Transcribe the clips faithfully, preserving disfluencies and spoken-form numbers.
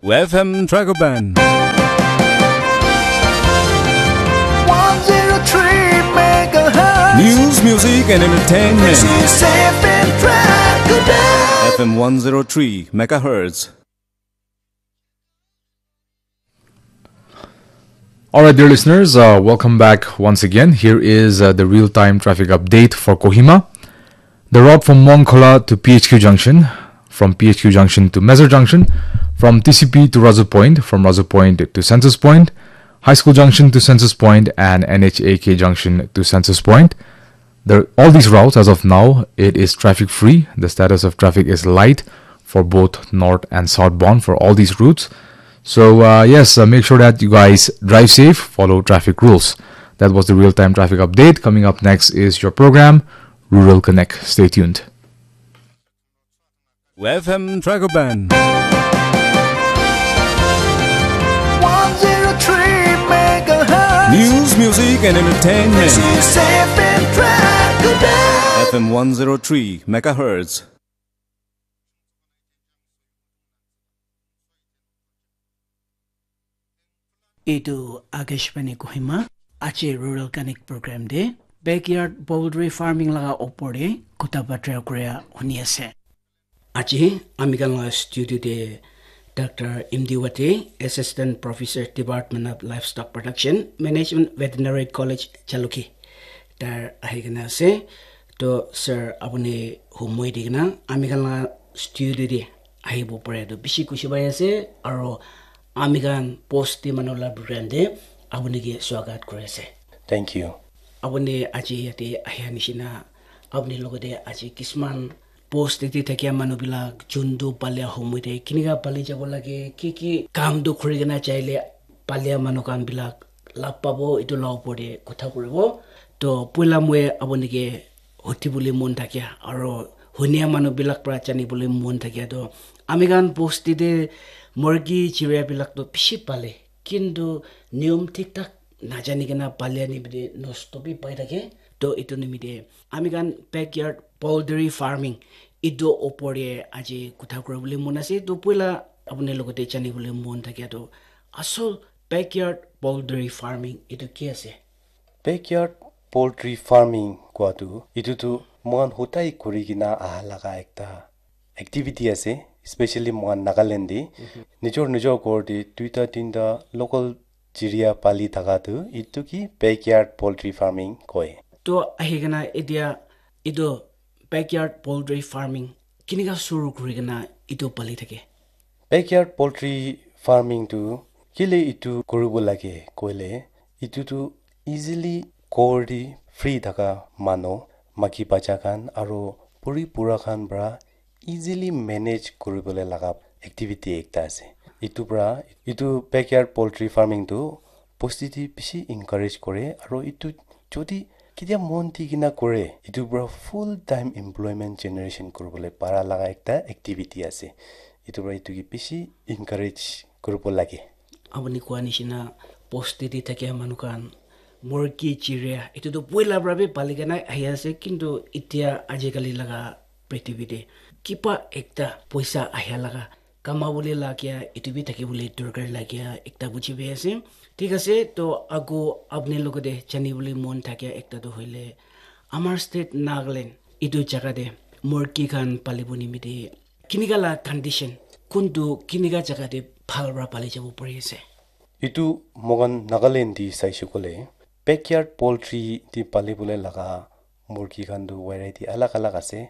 F M Dragoban. one zero three megahertz. News, music, and entertainment. This is F M Dragoban. F M one zero three megahertz. All right, dear listeners, uh, welcome back once again. Here is uh, the real-time traffic update for Kohima. The road from Mongkhola to P H Q Junction, from P H Q Junction to Mezar Junction, from T C P to Razu Point, from Razu Point to Census Point, High School Junction to Census Point, and N H A K Junction to Census Point. There, all these routes, as of now, it is traffic free. The status of traffic is light for both north and southbound for all these routes. So, uh, yes, uh, make sure that you guys drive safe, follow traffic rules. That was the real time traffic update. Coming up next is your program, Rural Connect. Stay tuned. F M Dragoban. one zero three megahertz. News, music, and entertainment. This is F M Dragoban. F M one zero three megahertz. Etu Akashvani Kohima, aji Rural Connect program de backyard poultry farming laga opor de kotha batra kuria huni ase. Aji ami khan la studio de Doctor M D Wate, Assistant Professor, Department of Livestock Production, Management, Veterinary College, Jalukie, tar ahi kena ase. To sir, apuni humoi di kena ami khan la studio de ahibo pare to bishi khushi pai ase, aro ami khan post te manu la program te apuni ke swagat kuri ase. Thank you. Apuni aji yate ahia nishina, apuni logote aji kisman post te thakia manu bilak juntu palia humoi te kinika pali jabo lage, ki ki kam tu khuri kena chaile palia manu khan bilak lab pabo, etu la opor te kotha kuribo. To poila moi apuni ke hoti bole mon thakia aro hunia manu bilak pra jani bole mon thakia to ami khan bosti te murgi chiria bilak to bishi pale, kintu niyom thik thak najani kena palia nimite nosto bi pai thake. To etu nimite ami khan backyard poultry farming etu opor te aji kotha kuri bole mon ase. To poila apuni logote jani bole mon thakia to asol backyard poultry farming etu ki ase? Backyard poultry farming kua tu, etu tu moikhan hotai kuri kena aha laga ekta activity ase, especially moikhan Nagaland de. Nijor nijor ghor de duita tinta local chiria pali thaka tu, etu ki backyard poultry farming koi. To ahi kena etia etu backyard poultry farming kinika suru kuri kena etu pali thake? Backyard poultry farming tu kile etu kuribo lage koile, etu tu easily ghor de free thaka manu, maki bacha khan aro puri pura khan pra easily manage kuribole laga activity ekta ase. Etu pra, etu backyard poultry farming tu bosti te bishi encourage kore, aro etu jodi ketia mon di kena kore, etu pra full time employment generation kuribole para laga ekta activity ase. Etu pra etu ke bishi encourage kuribo lage. Apuni koa nishina bosti te thakia manu khan murgi chiria etu tu poila pra bi pali kena ahi ase, kintu etia ajikali laga prithibi te kiba ekta poisa ahia laga kama bole lagia etu bi thaki bole dorkar lagia ekta buji pai ase. Thik ase, to ago apuni logote jani bole mon thakia ekta to hoile amar state Nagaland etu jaga te murgi khan palibo nimite kinika la condition, kuntu kinika jaga te bhal pra pali jabo pari ase? Etu moikhan Nagaland de saishe koile, backyard poultry de pali bole laga murgi khan tu variety alag alag ase.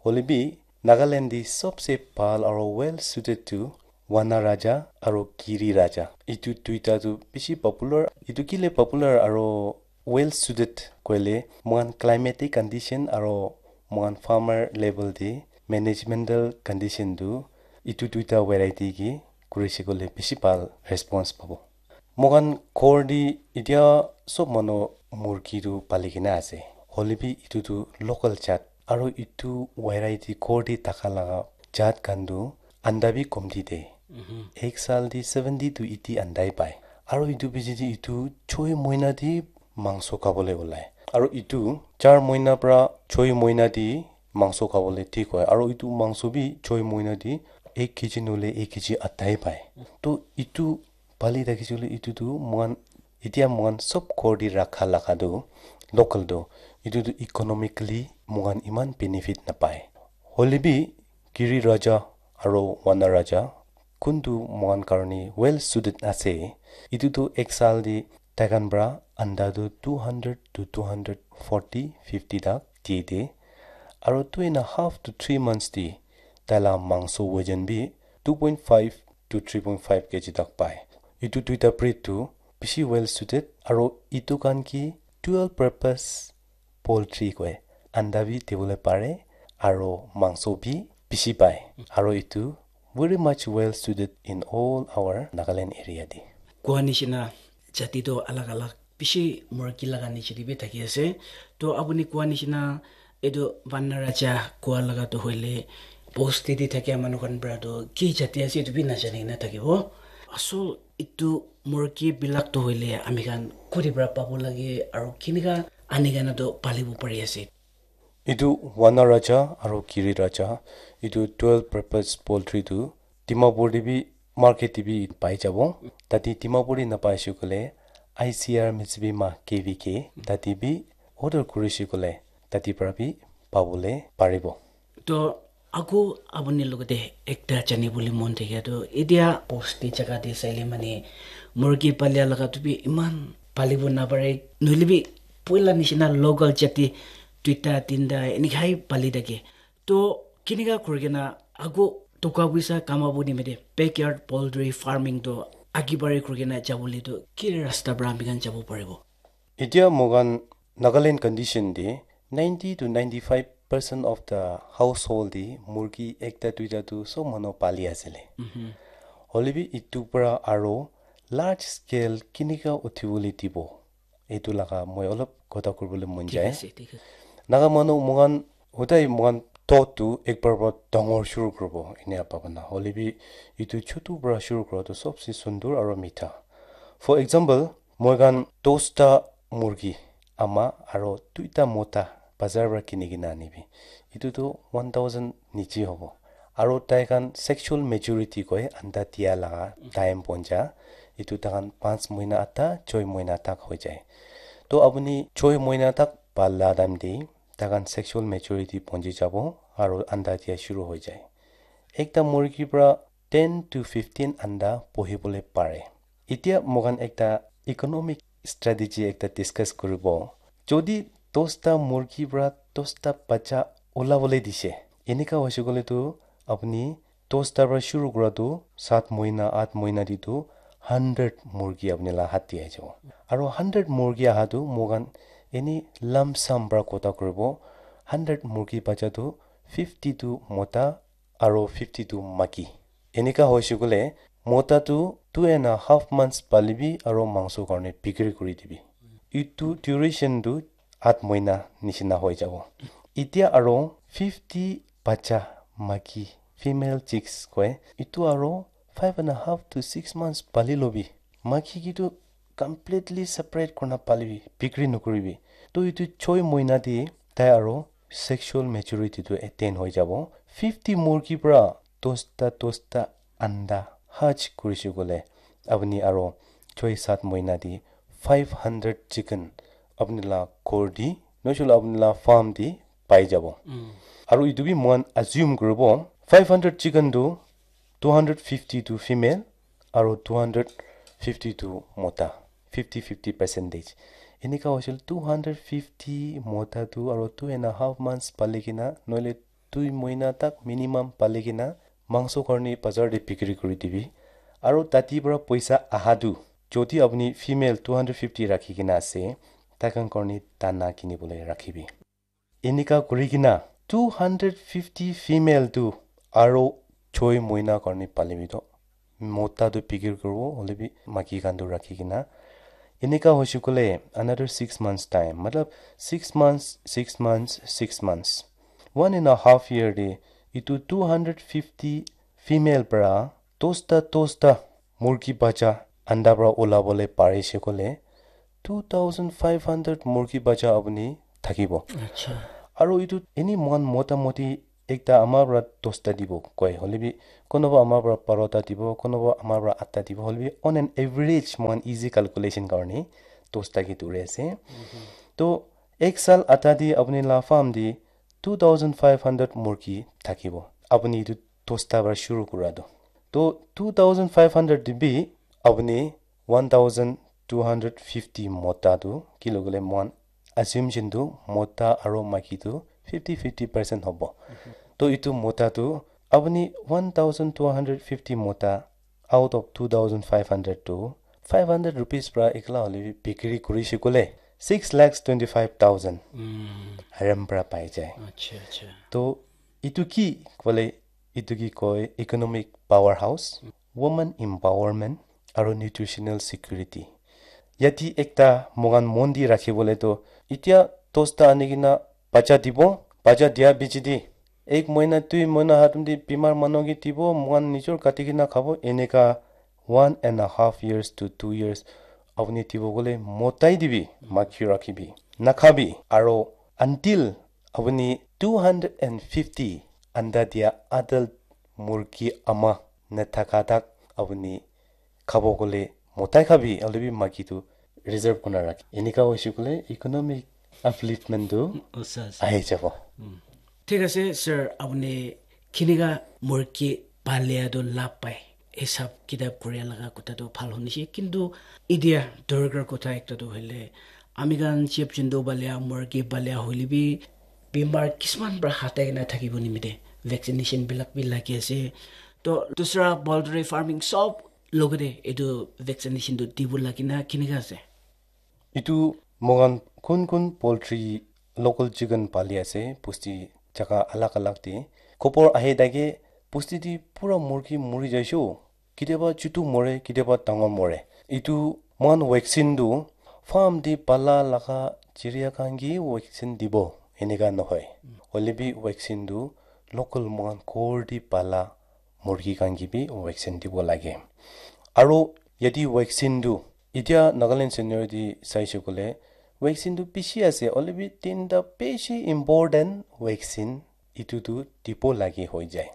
Hoile bi Nagaland de sobse bhal aro well suited tu Wana Raja aro Giri Raja. Etu duita tu bishi popular. Etu kile popular aro well suited koile, moikhan climatic condition aro moikhan farmer level de managemental condition tu etu duita variety ke kurishe koile bishi bhal response pabo. Moikhan ghor de etia sob manu murgi tu pali kena ase. Hoile bi etu tu local jat. Aro etu variety ghor de thaka laga jat khan tu anda bi komti de. Ek saal de seventy to eighty anda hi pai. Aro etu piche de etu choi moina de mangso khabole ulai. Aro etu char moina pra choi moina de mangso khabole thik hoi. Aro etu mangso bi choi moina de ek kg nohole ek kg adha he pai. To etu pali thakishe koile etu tu moikhan, etia moikhan sob ghor te rakha laga tu local tu, etu tu economically moikhan eman benefit napai. Hoile bi Giri Raja aro Vana Raja kuntu moikhan karne well suited ase, etu tu ek saal te taikhan pra anda tu two hundred to two hundred forty, fifty tak diye de. Aro two and a half to three months te taila mangso wajan bi two point five to three point five kg tak pai. Etu duita breed tu bishi well suited aro etu khan ki dual purpose poultry koi. Anda bi dibole pare aro mangso bi bishi pai. Aro etu very much well suited in all our Nagaland area te. Koa nishina jati toh alak alak bishi murgi laga niche te bi thaki ase. To apuni koa nishina etu Vana Raja koa laga toh hoile bosti te thakia manu khan pra toh ki jati ase etu bi najani kena thakibo. Asol etu murgi bilak toh hoile ami khan kuri pra pabo lage aro kinika ani kena toh palibo pari ase? Etu Vana Raja aro Giri Raja, etu dual purpose poultry tu Dimapur te bi market te bi pai jabo. Tate Dimapur te napai she koile I C R Mitsubima K V K tate bi order kuri she koile tate pra bi pabole paribo. To ako apuni logote ekta jani bole mon thake to etia bosti jaga te saile mane murgi palia laga tu bi eman palibo napare nohole bi poila nishina local jati duita tinta enika he pali thake. To kinika kuri kena ako toka puisa kamabo nimite backyard poultry farming to agi bari kuri kena jabole to ki rasta pra ami khan jabo paribo? Etia moikhan Nagaland condition te ninety to ninety-five percent of the household te murgi ekta duita tu sob manu pali asile. Hoile bi etu pra aro large scale kinika uthibole dibo? Etu laga moi olop kotha kuribole mon jai. Naga manu moikhan hodai moikhan thought tu ekbar pra dangor shuru kuribo enia bhabana. Hoile bi etu chutu pra shuru kura tu sobse sundur aro mitha. For example, moikhan dosta murgi ama aro duita mota bazar pra kini kena anibi. Etu tu one thousand niche hobo. Aro tai khan sexual maturity koi anda dia laga time ponja. Etu tai khan panch mohina ata, choi mohina tak hoi jai. To apuni choi mohina tak pala time te tai khan sexual maturity ponji jabo aro anda dia shuru hoi jai. Ekta murgi pra ten to fifteen anda pohibole pare. Etia moikhan ekta economic strategy ekta discuss kuribo. Jodi dosta murgi pra dosta bacha ulabole dishe, enika hoishe koile tu apuni dosta pra shuru kura tu sat mohina, at mohina te tu hundred murgi apuni la hat te ahi jabo. Aro hundred murgi aha tu moikhan eni lump sum pra kotha kuribo. Hundred murgi bacha tu fifty tu mota aro fifty tu maki. Enika hoishe koile mota tu two and a half months palibi aro mangso karne bikri kuri dibi. Etu duration tu at mohina nishina hoi jabo. Etia aro fifty bacha maki, female chicks koi, etu aro five and a half to six months pali lobi. Maki ki tu completely separate kurna palibi, bikri nokuribi. To etu choi mohina te tai aro sexual maturity tu attain hoi jabo. Fifty murgi pra dosta dosta anda hatch kurishe koile apuni aro choi sat mohina te five hundred chicken apuni la ghor te nohole apuni la farm te pai jabo. Aro etu bi moikhan assume kuribo five hundred chicken tu two hundred fifty tu female aro two hundred fifty tu mota, fifty fifty percentage. Enika hoishe koile two hundred fifty mota tu aro two and a half months pali kena nohole dui mohina tak minimum pali kena mangso karne bazar te bikri kuri dibi. Aro tate pra poisa aha tu jodi apuni female two hundred fifty rakhi kena ase, tai khan karne dana kinibole rakhibi. Enika kuri kena two hundred fifty female tu aro choi mohina karne palibi to mota tu bikri kuribo, hoile bi maki khan tu rakhi kena. Enika hoishe koile another six months time, matlab six months, six months, six months, one and a half year te etu two hundred fifty female pra dosta dosta murgi bacha anda pra ulabole parishe koile two thousand five hundred murgi bacha apuni thakibo. Aru etu eni moikhan mota moti ekta ama para dosta dibo koi, hoilebi kunuba ama para barota dibo, kunuba ama para atta dibo, hoilebi on an average moikhan easy calculation karne dosta ke duri ase. To ek saal atta di apni la farm di two thousand five hundred murgi thakibo. Apni etu dosta para shuru kura tu. To two thousand five hundred di bi apni one thousand two hundred fifty mota tu, kile koile moikhan assumption tu mota aro maiki tu fifty fifty percent hobo. To etu mota tu apni one thousand two hundred fifty mota out of two thousand five hundred tu five hundred rupees para ekla hoilebi bikri kurishe koile six lakhs twenty five thousand Mm. Haram para pai jai. Acha, acha. To etu ki koile, etu ki koi economic powerhouse, woman empowerment, aro nutritional security. Yati ekta moikhan mon di rakhi bole to, itia dosta ani kena bacha dibo, bacha dia bichi di ek moina, dui moina hatum di bimar manu ke dibo, moikhan nijor kati kena khabo, eneka one and a half years to two years apni dibo koile motai dibi, makhi rakhibi, nakhabi, aro until apni two hundred and fifty anda dia adult murgi ama nathaka tak apni khabo koile motai khabi, hoilebi maiki tu reserve kurna rakhi. Enika hoishe koile economic upliftment tu Asa, asa. Ahi jabo. Thik ase, sir, apuni kinika murgi palia tu lab pai, hisab kitab kuria laga kotha tu bhal huni se, kintu idia dorkar kotha ekta tu hoile, ami khan jib jontu palia, murgi palia hoile bi bimar kisman para hatai kena thakibo nimite vaccination bilak bi lagi ase. To dusra poultry farming sob logate etu vaccination tu dibo lagi na kinika ase? Etu moikhan kun kun poultry, local chicken pali ase, bosti jaga alag alag te. Khobor ahi thake, bosti te pura murgi muri jaishe. Ketiaba chutu more, ketiaba dangor more. Etu moikhan vaccine tu farm te pala laga chiria khan ke vaccine dibo, enika nohoi. Hoile bi vaccine tu local moikhan ghor te pala murgi khan ke bi vaccine dibo lage. Aro yate vaccine tu, itya Nagaland scenario te saishe koile, vaccine tu bishi ase, hoile bi tinta bishi important vaccine etu tu dibo lage hoi jai.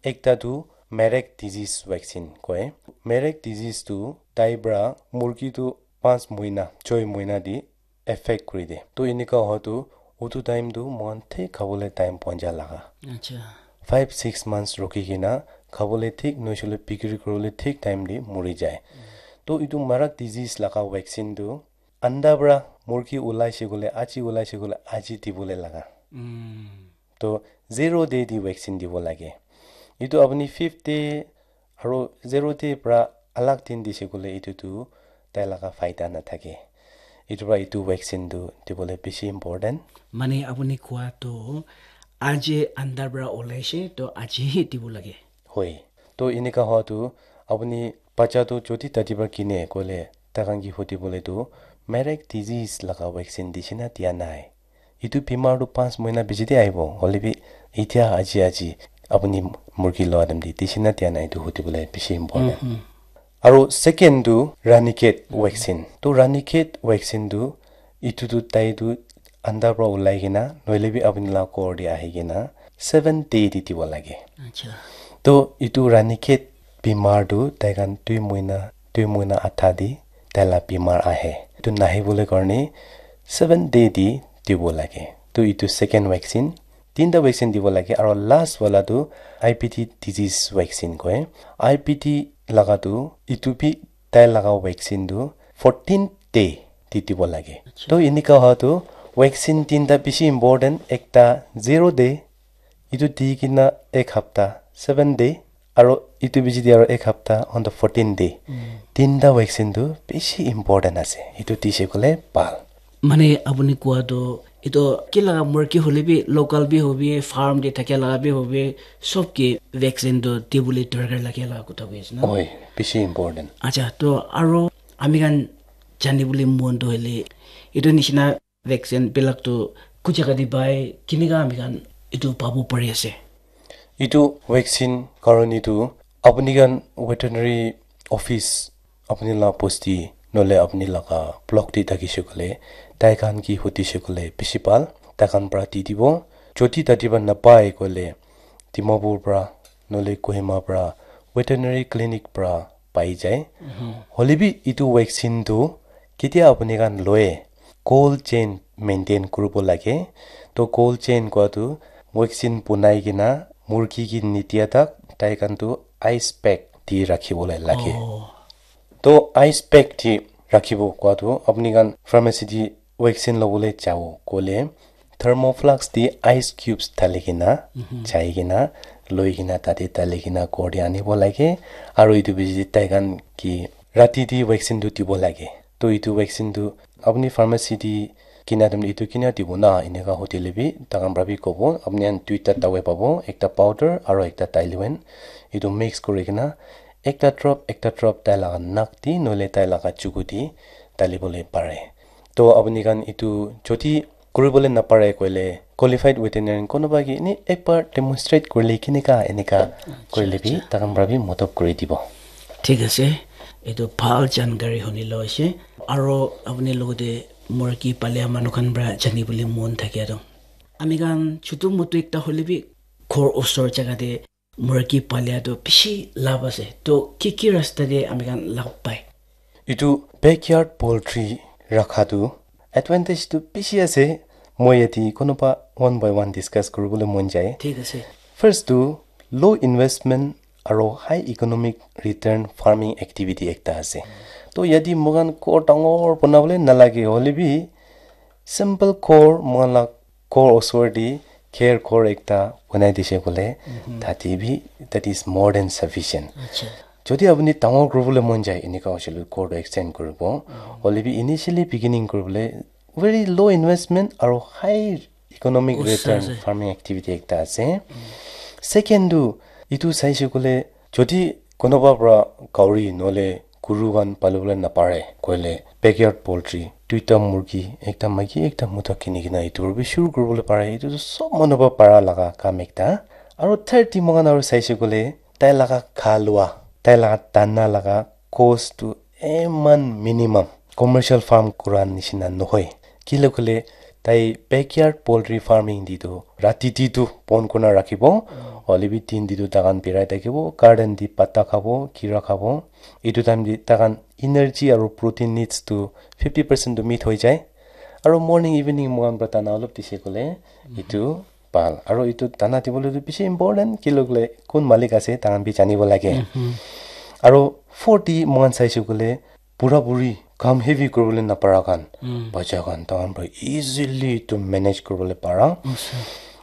Ekta tu Marek disease vaccine koi. Marek disease tu tai pra murgi tu panch moina, choi moina te affect kuri de. To enika hoa tu, utu time tu moikhan thik khabole time poa nai laga. Acha. Five, six months rukhi kena khabole thik, nohoile bikri kuribole thik time te muri jai. To etu Marek disease laga vaccine tu anda pra murgi ulaishe koile, aji ulaishe koile, aji dibole laga. Mm. To zero day te vaccine dibo lage. Etu apuni fifth day aro zero day pra alag din dishe koile etu tu tai laga faida nathake. Etu pra etu vaccine tu dibole bishi important. Mane apuni koa tu aji andar pra olaishe to aji hi dibo lage. Hoi. To enika hoa tu apuni bacha tu jodi tati pra kine koile tai khan ke hudi bole tu Marek disease laga vaccine dishe na dia nai. Etu bimar tu panch moina piche te ahibo, hoile bi itya aji aji apuni murgi loa time te dishe na dia nai etu hudi bole bishi important. Aro second tu Ranikhet vaccine. To Ranikhet vaccine tu etu tu tai tu anda pra ulai kena, nohoile bi apuni la ghor te ahi kena seven day te dibo lage. Acha. To etu Ranikhet bimar tu tai khan dui moina, dui moina adha te tai la bimar ahe. Etu nahi bole karne seven day te dibo lage. To etu second vaccine, tinta vaccine dibo lage. Aro last wala tu I P D disease vaccine koi. I P D laga tu etu bi tai laga vaccine tu fourteen day te dibo lage. Acha. To enika hoa tu vaccine tinta bishi important, ekta zero day, etu di kena ek hapta, seven day, aro etu piche te aro ek hapta on the fourteen day. Mm. Tinta vaccine tu bishi important ase. Etu dishe koile bhal. Mane apuni koa tu etu ki laga murgi hoile bi local bi hobi, farm te thakia laga bi hobi, sob ke vaccine tu dibole dorkar lage laga kotha koi ase na? Oi, bishi important. Acha, to aro ami khan jani bole mon tu hoile etu nishina vaccine bilak tu ku jaga te pai, kinika ami khan etu pabo pari ase? Etu vaccine karone tu apuni khan veterinary office apuni la bosti nohoile apuni laga block te thakishe koile, tai khan ke hudishe koile bishi bhal, tai khan pra di dibo. Jodi tati pra napai koile, Dimapur pra, nohole Kohima pra, veterinary clinic pra pai jai. Hoilebi etu vaccine tu ketia apni khan loye, cold chain maintain kuribo lage. To cold chain kua tu vaccine bunai kena murgi ke nitia tak tai khan tu ice pack di rakhibo lai lage. To ice pack di rakhibo kua tu apni khan pharmacy di vaccine lobole jabo koile thermoflask di ice cubes thali kena jai kena loi kena tate thali kena ghor te anibo lage. Aru etu bichi tai khan ki rati di vaccine tu dibo lage. To etu vaccine tu apni pharmacy di kina time etu kina dibo na eneka hotel bi takhan pra bi kobo apni khan duita dawai pabo, ekta powder aru ekta Tylenol, etu mix kuri kena ekta drop ekta drop tai laga nak di nohole tai laga chuku di dali bole pare. To apni khan etu jodi kuribole napare koile qualified veterinarian konoba ke eni ekbar demonstrate kurile kineka eneka kurile bi takhan pra bi modot kuri dibo. Thik ase, etu bhal jankari huni lo ase. Aro apni logote murgi palia manu khan pra jani bole mon thakia toh, ami khan chutu mutu ekta hoile bi ghor osor jaga te murgi palia toh bishi labh ase. Toh ki ki rasta te ami khan labh pai? Etu backyard poultry rakha tu advantage tu bishi ase. Moi yate konoba one by one discuss kuribole mon jai. Thik ase. First tu low investment aro high economic return farming activity ekta ase. To yate moikhan ghor dangor banabole nalage hoile bi simple ghor moikhan la ghor osor te kher ghor ekta banai dise koile tate bi that is more than sufficient. Jodi apni dangor kuribole mon jai eneka hoise le ghor to extend kuribo. Hoile bi initially beginning kuribole very low investment aro high economic return farming activity ekta ase. Second tu etu saise koile jodi konoba pra gauri nohole guru khan palibole napare koile backyard poultry duita murgi ekta maiki ekta mota kini kena etu para bi shuru kuribole pare. Etu tu sob manu para para laga kam ekta. Aro third te moikhan aro saise koile tai laga kha lua, tai laga dana laga cost tu eman minimum commercial farm kura nishina nohoi. Kile koile tai backyard poultry farming te tu rati te tu bon kurina rakhibo, hoile bi din te tu takhan birai thakibo, garden te pata khabo, kira khabo. Etu time te takhan energy aro protein needs tu fifty percent tu meet hoi jai. Aro morning evening moikhan para dana olop dise koile etu bhal. Aro etu dana dibole tu bishi important, kile koile kun malik ase takhan bi janibo lage. Aro fourth te moikhan saise koile bura buri kam heavy kuribole napara khan, bacha khan takhan para easily to manage kuribole para.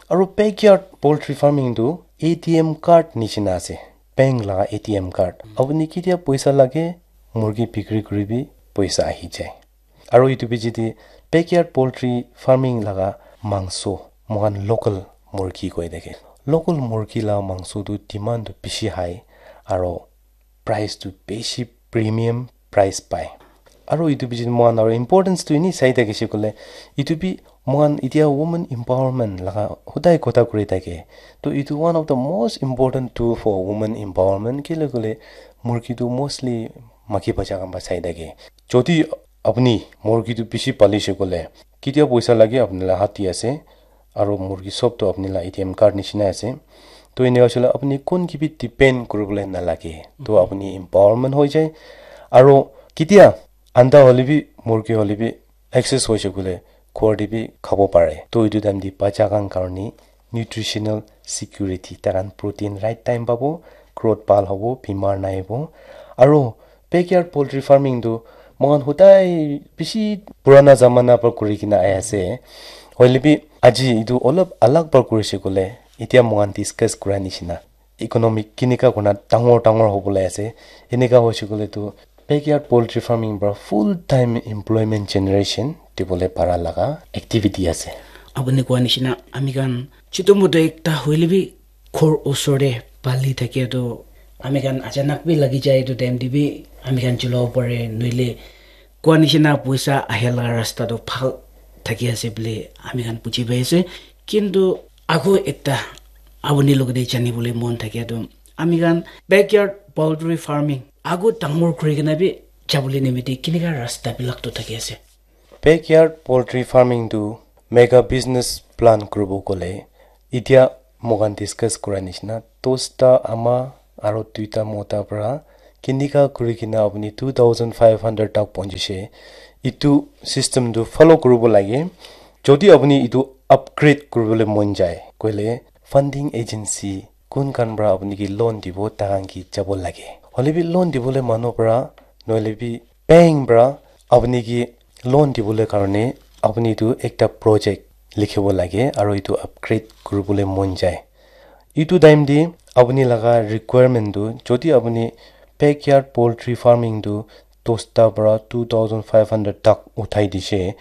Aro backyard poultry farming tu A T M card nishina ase, bank laga A T M card. Apuni ketia poisa lage murgi bikri kuribi, poisa ahi jai. Aro etu bichi te backyard poultry farming laga mangso moikhan local murgi koi thake. Local murgi la mangso tu demand tu bishi high aro price tu bishi premium price pai. Aro etu bichi te moikhan aro importance tu eni sai thakise koile etu bi moikhan etia women empowerment laga hodai kotha kuri thake. To etu one of the most important tool for women empowerment, kile koile murgi tu mostly maiki bacha khan para sai thake. Jodi apuni murgi tu bishi palise koile ketia poisa lage apuni la hat te ase, aro murgi sob tu apuni la A T M card nishina ase. To ene hoishe koile apuni kun ke bi depend kuribole nalage. To apuni empowerment hoi jai. Aro ketia anda hoile bi, murgi hoile bi, excess hoishe koile ghor te bi khabo pare. To etu time te bacha khan karne nutritional security, takhan protein right time pabo, growth bhal hobo, bimar nai hobo. Aro backyard poultry farming tu moikhan hodai bishi purana zamana para kuri kena ahi ase. Hoile bi aji etu olop alag para kurise koile, etia moikhan discuss kura nishina economic kenika kurina dangor dangor hobole ase. Enika hoise koile tu backyard poultry farming para full time employment generation dibole para laga activity ase. Apuni koa nishina ami khan chutu mutu ekta hoile bi ghor osor te pali thakia tu ami khan achanak bi lagi jai, etu time te bi ami khan chulabo pare, nohile koa nishina poisa ahe laga rasta tu bhal thaki ase bole ami khan buji pai ase. Kintu ago ekta apuni logote jani bole mon thakia tu ami khan backyard poultry farming ago dangor kuri kena bi jabole nimite kenika rasta bilak tu thaki ase. Backyard poultry farming tu mega business plan kuribo koile, etia Moikhan discuss kura nishina, dosta ama aro duita mota para kinika kuri kena apuni two thousand five hundred tak pahunchise. Itu system tu follow kuribo lage. Jodi apuni itu upgrade kuribole mon jai, koile funding agency kun khan para apuni ke loan dibo, takhan ke jabo lage. Hoile bi loan dibole manu para, nohole bi bank para apuni ke loan dibole karone apuni itu ekta project likhibo lage, aro itu upgrade kuribole mon jai. Itu time te apuni laga requirement tu, jodi apuni backyard poultry farming tu dosta para two thousand five hundred tak uthai dise,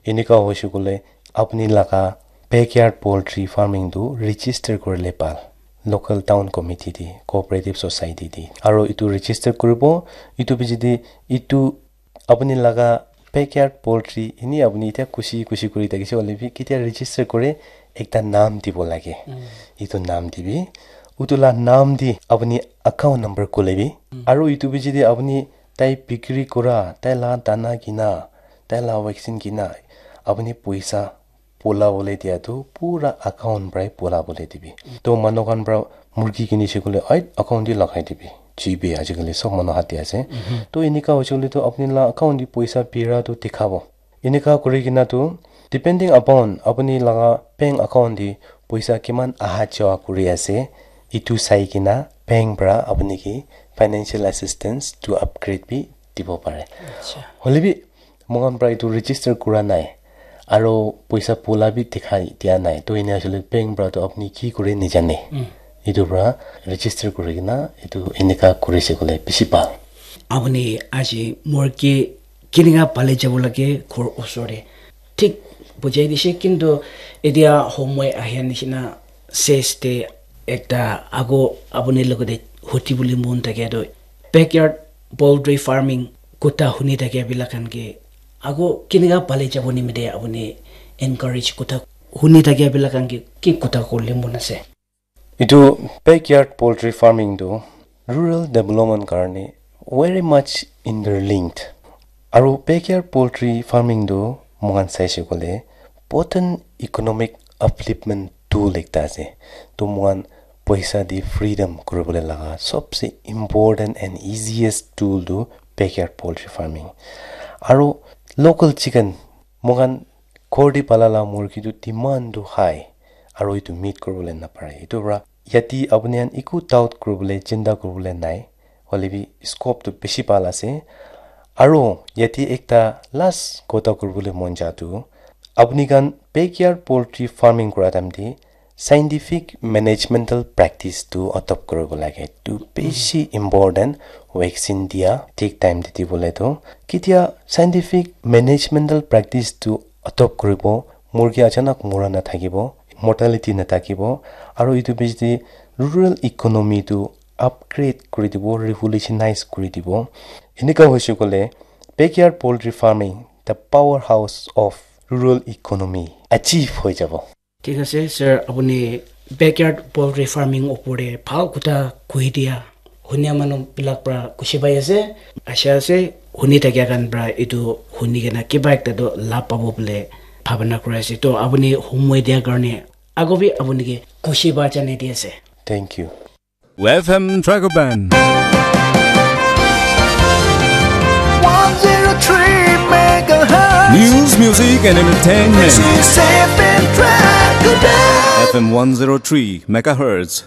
enika hoise koile apuni laga backyard poultry farming tu register kurile pal, local town committee te, cooperative society te. Aro itu register kuribo, itu piche te itu apuni laga backyard poultry, ini apuni itya khushi khushi kuri thakise hoile bi, ketia register kore, ekta naam dibo lage. Itu naam dibi, utu la naam di apuni account number khole bi. Aro itu piche te apuni tai bikri kura, tai la dana kina, tai la vaccine kina, apuni poisa pola bole dia tu pura account para pola bole dibi. To manu khan para murgi kini se koile, ai, account te lagai dibi. G P ajikali sob manu hath te ase. To enika hoise koile to apuni la account te poisa bira tu dikhabo. Enika kuri kena tu, depending upon apuni laga bank account te poisa kiman aha jawa kuri ase, itu sai kena bank para apuni ke financial assistance to upgrade bi dibo pare. Hoile bi, moikhan para itu register kura nai, aro poisa pola bi dikhai dia nai, to ene asile bank para to apuni ki kure najane. Itu para register kuri kena itu enika kuri se koile bishi bhal. Apuni aji murgi kinika pale jabo lage ghor osor te, thik bujai dise, kintu etia homoi ahia nishina ses te ekta ago apuni logote huti bole mon thakia tu, backyard poultry farming kotha huni thakia bila khan ke ago kinika pale jabo nimite apuni encourage kotha huni thakia bila khan ke ki kotha kole mon ase? Itu backyard poultry farming tu rural development karne very much interlinked. Aru backyard poultry farming tu moikhan saise koile potent economic upliftment tool ekta ase. To moikhan poisa di freedom kuribole laga sobse important and easiest tool tu backyard poultry farming. Aru local chicken moikhan ghor te pala la murgi tu demand tu high, aru etu meet kuribole napare. Etu para yate apuni khan eku doubt kuribole, chinta kuribole nai, hoile bi scope tu bishi bhal ase. Aru yate ekta last kotha kuribole mon ja tu, apuni khan backyard poultry farming kura time te scientific managemental practice tu adopt kuribo lage. Tu bishi important, vaccine dia thik time te dibole tu. Ketia scientific managemental practice tu adopt kuribo, murgi achanak mura nathakibo, mortality nathakibo, aru etu bishi rural economy tu upgrade kuri dibo, revolutionize kuri dibo. Enika hoise koile backyard poultry farming, the powerhouse of rural economy achieve hoi jabo. Thik ase, sir, apuni backyard poultry farming opor te bhal kotha koi dia. Hunia manu bilak para khushi pai ase. Asha ase, huni thakia khan para etu huni kena kiba ekta toh labh pabo bole bhabana kuri ase. To apuni homoi dia karne ago bi apuni ke khushi ba janai di ase. Thank you. F M Dragon Band. One zero three megahertz. News, music, and entertainment. This is F M Dragon Band. F M one zero three megahertz.